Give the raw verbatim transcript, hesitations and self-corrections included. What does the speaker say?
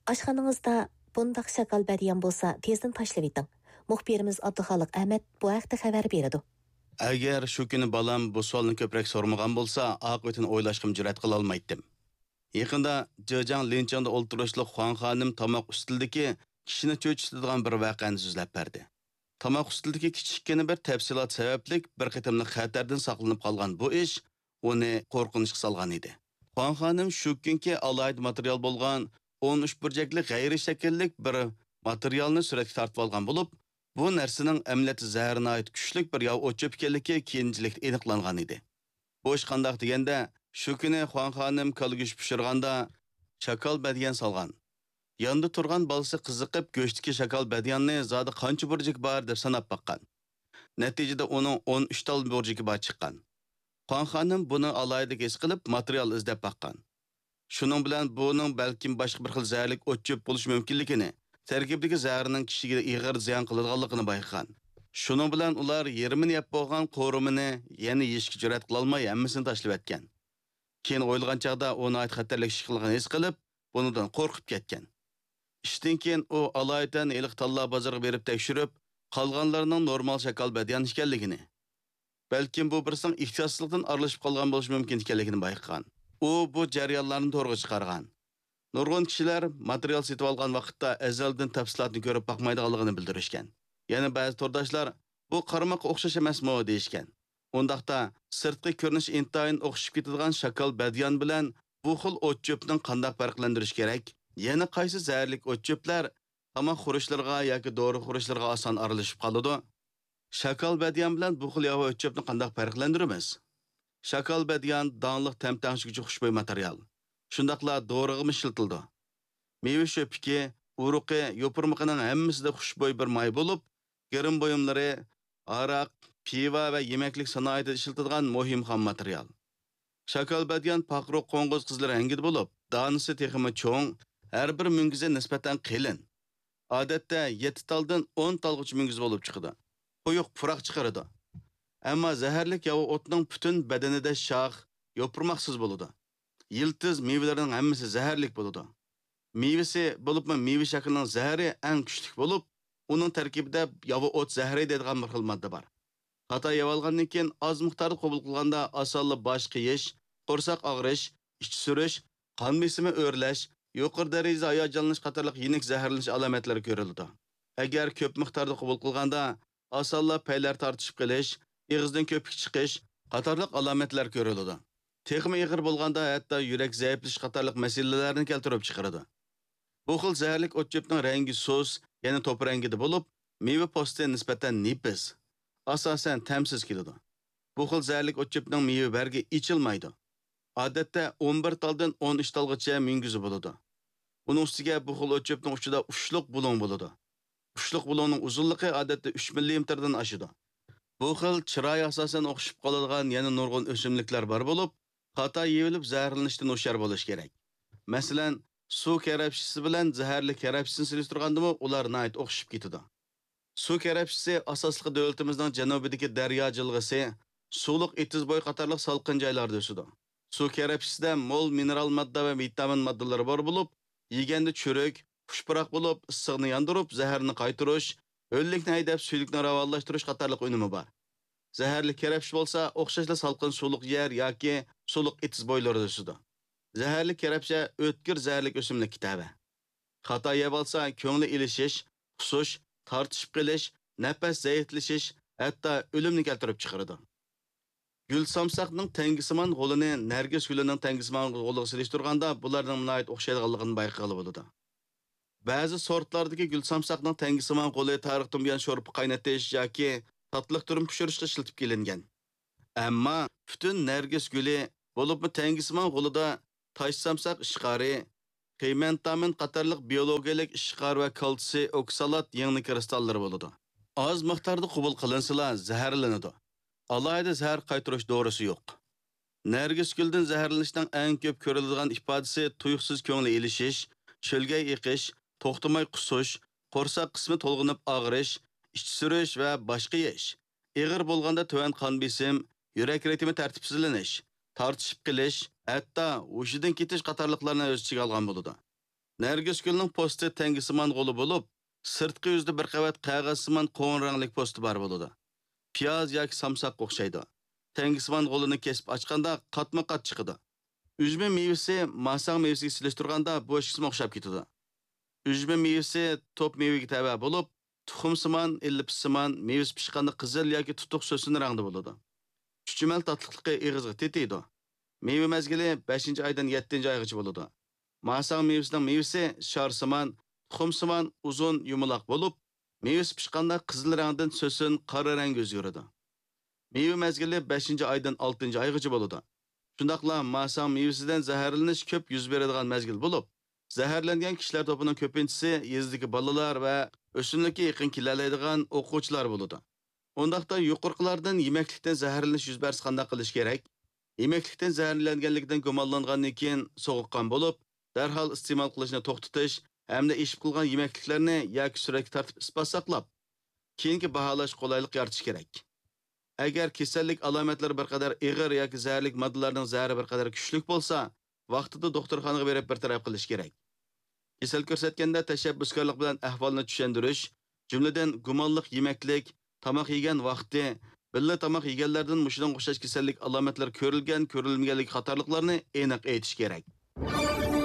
ئاشخانىڭىزدا بۇنداق شاكال بەدىيان بولسا، تېزدىن تاشلىۋېتىڭ. مۇخبىرىمىز ئابدۇخالىق ئەمەت بۇ ھەقتە خەۋەر بېرىدۇ. ئەگەر شۇ كۈنى بالام بۇ سوئالنى كۆپرەك سورىمىغان بولسا، ئاقىۋىتىنى ئويلاشقىمۇ جۈرئەت قىلالمايتتىم. يېقىندا جېجياڭ لىنچىڭدا ئولتۇرۇشلۇق خۇاڭ خانىم تاماق ئۈستىلىدىكى كىشىنى چۆچۈتىدىغان بىر ۋەقەنى سۆزلەپ بەردى. تاماق ئۈستىلىدىكى كىچىككىنە بىر تەپسىلات سەۋەبلىك بىر قېتىملىق خەتەردىن ساقلىنىپ قالغان بۇ ئىش ئۇنى قورقۇنچقا سالغان ئىدى. خۇاڭ خانىم شۇ كۈنكى ئالاھىدە ماتېرىيال بولغان ئون ئۈچ بۇرجەكلىك غەيرىي شەكىللىك بىر ماتېرىيالنى سۈرەتكە تارتىۋالغان بولۇپ، بۇ نەرسىنىڭ ئەمەلىيەتتە زەھەر ناھايىتى كۈچلۈك بىر ياۋا ئوت چۆپ ئىكەنلىكى كېيىنچىلىكتە ئېنىقلانغان ئىدى. بۇ ئىش قانداق دېگەندە، شۇ كۈنى خۇاڭ خانىم كالا گۆش پىشۇرغاندا، شاكال بەدىيان سالغان. ياندا تۇرغان بالىسى قىزىقىپ، گۆشتىكى شاكال بەدىياننى زادى قانچە بۇرجىكى بار دەپ ساناپ باققان. نەتىجىدە ئۇنىڭ ئون ئۈچ تال بۇرجىكى بار چىققان. خۇاڭ خانىم بۇنى ئالاھىدە ھېس قىلىپ، ماتېرىيال ئىزدەپ باققان. شۇنىڭ بىلەن بۇنىڭ بەلكىم باشقا بىر خىل زەھەرلىك ئوت چۆپ بولۇشى مۇمكىنلىكىنى، تەركىبىدىكى زەھەرنىڭ كىشىگە ئېغىر زىيان قىلىدىغانلىقىنى بايقىغان. شۇنىڭ بىلەن ئۇلار يېرىمىنى يەپ بولغان قورۇمىنى يەنە يېيىشكە جۈرئەت قىلالماي، ھەممىسىنى تاشلىۋەتكەن. كېيىن ئويلىغان چاغدا ئۇ ناھايىتى خەتەرلىك ئىش قىلغان ھېس قىلىپ، بۇنىڭدىن قورقۇپ كەتكەن. ئىشتىن كېيىن ئۇ ئالايىتەن ھېلىقى تاللا بازىرىغا بېرىپ تەكشۈرۈپ، قالغانلىرىنىڭ نورمال شاكال بەدىيان ئىكەنلىكىنى، بەلكىم بۇ بىرسىنىڭ ئېھتىياتسىزلىقتىن ئارىلىشىپ قالغان بولۇشى مۇمكىن ئىكەنلىكىنى بايقىغان. ئۇ بۇ جەريانلارنى تورغا چىقارغان. نۇرغۇن كىشىلەر ماتېرىيال سېتىۋالغان ۋاقىتتا ئەزەلدىن تەپسىلاتنى كۆرۈپ باقمايدىغانلىقىنى بىلدۈرۈشكەن. يەنە بەزى تورداشلار، «بۇ قارىماققا ئوخشاش ئەمەسمۇ؟» دېيىشكەن. ئۇنداقتا، سىرتقى كۆرۈنۈش ئىنتايىن ئوخشىشىپ كېتىدىغان شاكال بەدىيان بىلەن بۇ خىل ئوت چۆپنىڭ قانداق پەرقلەندۈرۈش كېرەك؟ يەنە قايسى زەھەرلىك ئوت چۆپلەر تاماق خۇرۇچلىرىغا ياكى دورا خۇرۇچلىرىغا ئاسان ئارىلىشىپ قالىدۇ؟ شاكال بەدىيان بىلەن بۇ خىل ياۋا ئۆت چۆپنى قانداق پەرقلەندۈرىمىز؟ شاكال بەدىيان داڭلىق تەم تەڭشىگۈچى خۇشبۇي ماتېرىيال. شۇنداقلا دورىغىمۇ ئىشلىتىلىدۇ. مېۋە شۆپىكى، ئۇرۇقى، يوپۇرمىقىنىڭ ھەممىسىدە خۇشبۇي بىر ماي بولۇپ، گىرىم بۇيۇملىرى، ھاراق، پىۋا ۋە يېمەكلىك سانائىتىدە ئىشلىتىدىغان مۇھىم خام ماتېرىيال. شاكال بەدىيان پاقىرۇق قوڭغۇز قىزىل رەڭگىدە بولۇپ، دانىسى تېخىمۇ چوڭ، ھەر بىر مۈڭگۈزى نىسبەتەن قېلىن. ئادەتتە يەتتە تالدىن ئون تالغىچە مۈڭگۈز بولۇپ چىقىدۇ. قويۇق پۇراق چىقىرىدۇ. ئەمما زەھەرلىك ياۋا ئوتنىڭ پۈتۈن بەدىنىدە شاخ، يوپۇرماقسىز بولىدۇ. يىلتىز مېۋىلىرىنىڭ ھەممىسى زەھەرلىك بولىدۇ. مېۋىسى، بولۇپمۇ مېۋە شاكىلىنىڭ زەھىرى ئەڭ كۈچلۈك بولۇپ، ئۇنىڭ تەركىبىدە ياۋا ئوت زەھىرى دەيدىغان بىر خىل ماددا بار. خاتا يەۋالغاندىن كېيىن ئاز مىقداردا قوبۇل قىلغاندا ئاسانلا باش قېيىش، قورساق ئاغرىش، ئىچى سۈرۈش، قان بېسىمى ئۆرلەش، يۇقىرى دەرىجىدە ھاياجانلىنىش قاتارلىق يېنىك زەھەرلىنىش ئالامەتلىرى كۆرۈلىدۇ. ئەگەر كۆپ مىقداردا قوبۇل قىلغاندا، ئاسانلا پەيلەر تارتىشىپ قېلىش، ئېغىزدىن كۆپۈك چىقىش قاتارلىق ئالامەتلەر كۆرۈلىدۇ. تېخىمۇ ئېغىر بولغاندا، ھەتتا يۈرەك زەئىپلىشىش قاتارلىق مەسىلىلەرنى كەلتۈرۈپ چىقىرىدۇ. بۇ خىل زەھەرلىك ئوت چۆپنىڭ رەڭگى سۇس، يەنى توپا رەڭگىدە بولۇپ، مېۋە پوستى نىسبەتەن نېپىز، ئاساسەن تەمسىز كېلىدۇ. بۇ خىل زەھەرلىك ئوت چۆپنىڭ مېۋە بەرگى ئېچىلمايدۇ. ئادەتتە ئون بىر تالدىن ئون ئۈچ تالغىچە مۈڭگۈزى بولىدۇ. ئۇنىڭ ئۈستىگە بۇ خىل ئوت چۆپنىڭ ئۇچىدا ئۇچلۇق بۇلۇڭ بولىدۇ. ئۇچلۇق بۇلۇڭنىڭ ئۇزۇنلۇقى ئادەتتە ئۈچ مىللىمېتىردىن ئاشىدۇ. بۇ خىل چىرايى ئاساسەن ئوخشىشىپ قالىدىغان يەنە نۇرغۇن ئۆسۈملۈكلەر بار بولۇپ، خاتا يېيىۋېلىپ زەھەرلىنىشتىن ھوشيار بولۇش كېرەك. مەسىلەن، سۇ كەرەپشىسى بىلەن زەھەرلىك كەرەپشىسىنى سېلىشتۇرغاندىمۇ ئۇلار ناھايىتى ئوخشىشىپ كېتىدۇ. سۇ كەرەپشىسى ئاساسلىقى دۆلىتىمىزنىڭ جەنۇبىدىكى دەريا جىلغىسى، سۇلۇق ئېتىز بويى قاتارلىق سالقىن جايلاردا ئۆسىدۇ. سۇ كەرەپشىسىدە مول مىنېرال ماددا ۋە ۋىتامىن ماددىلىرى بار بولۇپ، يېگەندە چۈرۈك، خۇش پۇراق بولۇپ، ئىسسىقنى ياندۇرۇپ، زەھەرنى قايتۇرۇش، ھۆللۈكنى ھەيدەپ، سۈيدۈكنى راۋانلاشتۇرۇش قاتارلىق ئۈنۈمى بار. زەھەرلىك كەرەپشە بولسا، ئوخشاشلا سالقىن سۇلۇق يەر ياكى سۇلۇق ئېتىز بويلىرىدا ئۆسىدۇ. زەھەرلىك كەرەپشە ئۆتكۈر زەھەرلىك ئۆسۈملۈككە تەۋە. خاتا يەۋالسا، كۆڭلى ئېلىشىش، قۇسۇش، تارتىشىپ قېلىش، نەپەس زەئىپلىشىش، ھەتتا ئۆلۈمنى كەلتۈرۈپ چىقىرىدۇ. گۈل سامساقنىڭ تەڭگىسىمان غولىنى نەرگىس گۈلىنىڭ تەڭگىسىمان غولىغا سېلىشتۇرغاندا، بۇلارنىڭ ناھايىتى ئوخشايدىغانلىقىنى بايقىغىلى بولىدۇ. بەزى سورتلاردىكى گۈل سامساقنىڭ تەڭگىسىمان غولى تارىختىن بۇيان شورپا قاينىتىش ياكى تاتلىق تۈرۈم پىشۇرۇشقا ئىشلىتىپ كېلىنگەن. ئەمما پۈتۈن نەرگىس گۈلى، بولۇپمۇ تەڭگىسىمان غولىدا تاش سامساق ئىشقارى، پىمېنتامىن قاتارلىق بىيولوگىيەلىك ئىشقار ۋە كالتسىي ئوكسالات يىڭنە كىرىستاللىرى بولىدۇ. ئاز مىقداردا قوبۇل قىلىنسىلا زەھەرلىنىدۇ. ئالاھىدە زەھەر قايتۇرۇش دورىسى يوق. نەرگىس گۈلدىن زەھەرلىنىشنىڭ ئەڭ كۆپ كۆرۈلىدىغان ئىپادىسى تۇيۇقسىز كۆڭلى ئېلىشىش، شۆلگەي ئېقىش، توختىماي قۇسۇش، قورساق قىسمى تولغىنىپ ئاغرىش، ئىچى سۈرۈش ۋە باش قېيىش. ئېغىر بولغاندا تۆۋەن قان بېسىم، يۈرەك رىتىمى تەرتىپسىزلىنىش، تارتىشىپ قېلىش، ھەتتا ھوشىدىن كېتىش قاتارلىقلارنى ئۆز ئىچىگە ئالغان بولىدۇ. نەرگىسگۈلنىڭ پوستى تەڭگىسىمان غولى بولۇپ، سىرتقى يۈزىدە بىر قەۋەت قەغەزسىمان قوڭۇر رەڭلىك پوستى بار بولىدۇ. پىياز ياكى سامساققا ئوخشايدۇ. تەڭگىسىمان غولىنى كېسىپ ئاچقاندا قاتمۇ قات چىقىدۇ. ئۈجمە مېۋىسى ماساڭ مېۋىسىگە سېلىشتۇرغاندا بۇ ئىككىسىمۇ ئوخشاپ كېتىدۇ. ئۈجمە مېۋىسى توپ مېۋىگە تەۋە بولۇپ، تۇخۇمسىمان، ئېللىپىسسىمان، مېۋىسى پىشقاندا قىزىل ياكى تۇتۇق سۆسۈن رەڭدە بولىدۇ. چۈچۈمەل تاتلىقلىقى ئېغىزغا تېتىيدۇ. مېۋە مەزگىلى بەشىنچى ئايدىن يەتتىنچى ئايغىچە بولىدۇ. ماساڭ مېۋىسىنىڭ مېۋىسى شارسىمان، تۇخۇمسىمان، ئۇزۇن، يۇمىلاق بولۇپ، مېۋىسى پىشقاندا قىزىل رەڭدىن سۆسۈن، قارا رەڭگە ئۆزگىرىدۇ. مېۋە مەزگىلى بەشىنچى ئايدىن ئالتىنچى ئايغىچە بولىدۇ. شۇنداقلا ماساڭ مېۋىسىدىن زەھەرلىنىش كۆپ يۈز بېرىدىغان مەزگىل بولۇپ، زەھەرلەنگەن كىشىلەر توپىنىڭ كۆپىنچىسى يېزىدىكى بالىلار ۋە ئۆسۈملۈككە يېقىن كېلەلەيدىغان ئوقۇغۇچىلار بولىدۇ. ئۇنداقتا يۇقىرىقىلاردىن يېمەكلىكتىن زەھەرلىنىش يۈز بەرسە قانداق قىلىش كېرەك؟ يېمەكلىكتىن زەھەرلەنگەنلىكىدىن گۇمانلانغاندىن كېيىن سوغۇققان بولۇپ، دەرھال ئىستېمال قىلىشنى توختىتىش ھەمدە ئېشىپ قىلغان يېمەكلىكلەرنى ياكى سۈرەتكە تارتىپ ئىسپات ساقلاپ، كېيىنكى باھالاش قولايلىق يارىتىش كېرەك. ئەگەر كېسەللىك ئالامەتلىرى بىر قەدەر ئېغىر ياكى زەھەرلىك ماددىلارنىڭ زەھىرى بىر قەدەر كۈچلۈك بولسا، ۋاقتىدا دوختۇرخانىغا بېرىپ بىر تەرەپ قىلىش كېرەك. كېسەل كۆرسەتكەندە تەشەببۇسكارلىق بىلەن ئەھۋالنى چۈشەندۈرۈش، جۈملىدىن گۇمانلىق يېمەكلىك، تاماق يېگەن ۋاقتى، بىللە تاماق يېگەنلەردىن مۇشۇنىڭغا ئوخشاش كېسەللىك ئالامەتلىرى كۆرۈلگەن، كۆرۈلمىگەنلىكى قاتارلىقلارنى ئېنىق ئېيتىش كېرەك.